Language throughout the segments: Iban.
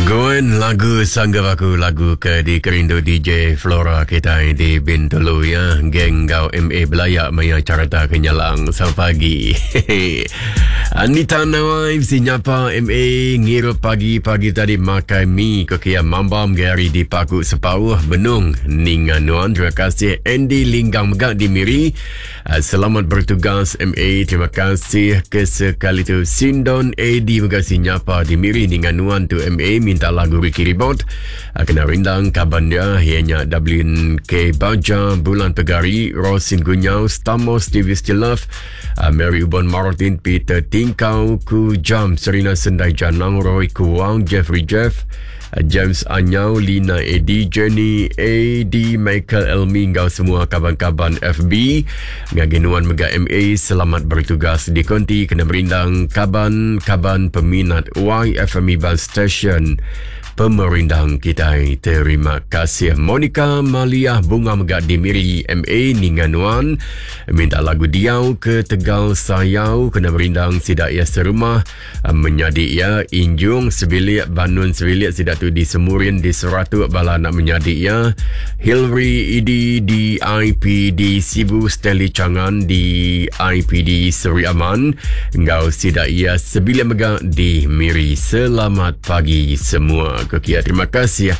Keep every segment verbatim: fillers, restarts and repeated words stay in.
Gwen lagu Sanggup Aku, lagu ke dikerindu D J Flora kita di Bintulu ya. Geng gau M A belayak maya carta kenyalang. Selamat pagi. Anita Nawai sinyapa M A ngirup pagi-pagi tadi makai mi kokia mambam gari di Paku Sepauh Benung Ninga Nuan. Terima kasih Andy Linggang Megak di Miri. Selamat bertugas M A. Terima kasih ke sekali tu Sindon A D Megak sinyapa di Miri Ninga Nuan tu M A minta lagu Ricky Ribot kena rindang kaban dia ianya W K Baja Bulan Pegari Rosin Gunyau Stamos T V Still Love Mary Ubon Martin Peter Tingkau Ku Jam Serina Sendai Janang Roy Kuang Jeffrey Jeff James Anyau Lina Edi Jenny A D Michael Elmi ngau semua kaban-kaban F B ngaginuan mega M A. Selamat bertugas di konti kena merindang kaban-kaban peminat Y F M Iban Station pemerindang kita. Terima kasih Monica Maliah Bunga Megak di Miri M A Ninganuan minta lagu Diau ke Tegal Sayau kena merindang sidak ia serumah menyadik ia Injung sebilik Banun sebilik sidak tu di Semurin di Seratuk bala nak menyadik ia Hilary Edi di I P D Sibu Stanley Changan di I P D Seri Aman ngau sidak ia sebilik megak di Miri. Selamat pagi semua. Kekia, terima kasih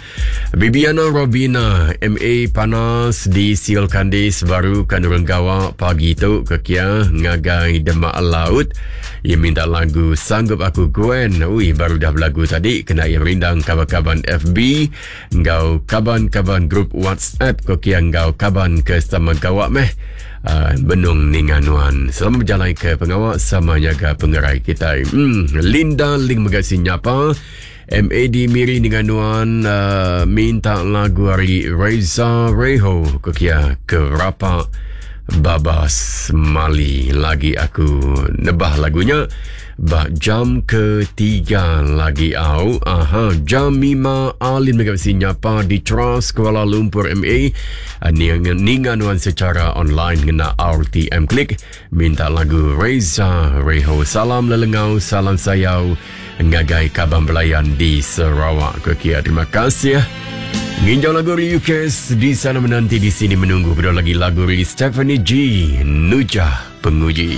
Bibiana Robina M A Panas di Siol Kandis baru kanurang gawa pagi tu kekia ngagai Demak Laut. Ia minta lagu Sanggup Aku Gwen. Ui, baru dah berlagu tadi kena ia merindang kaban-kaban F B ngau kaban-kaban grup WhatsApp kekia ngau kaban ke sama gawak meh. Uh, Benung Ninganuan. Selamat berjalan ke pengawak sama jaga pengerai kita. Hmm, Linda Ling megasi nyapa M A D Miri Ninganuan uh, minta lagu hari Reza Reho kekia kerapa Babas Mali. Lagi aku nebah lagunya bak jam ketiga lagi au. Aha, jam lima Alin megasi nyapa di Trust Kuala Lumpur M A Ninganuan secara online ngena R T M Klik minta lagu Reza Reho. Salam lelengau, salam sayau ngagai kaban belayan di Sarawak. Kekia, terima kasih. Nginjau lagu Ryukes di sana menanti, di sini menunggu. Berdua lagi lagu Stephanie G Nujah Penguji.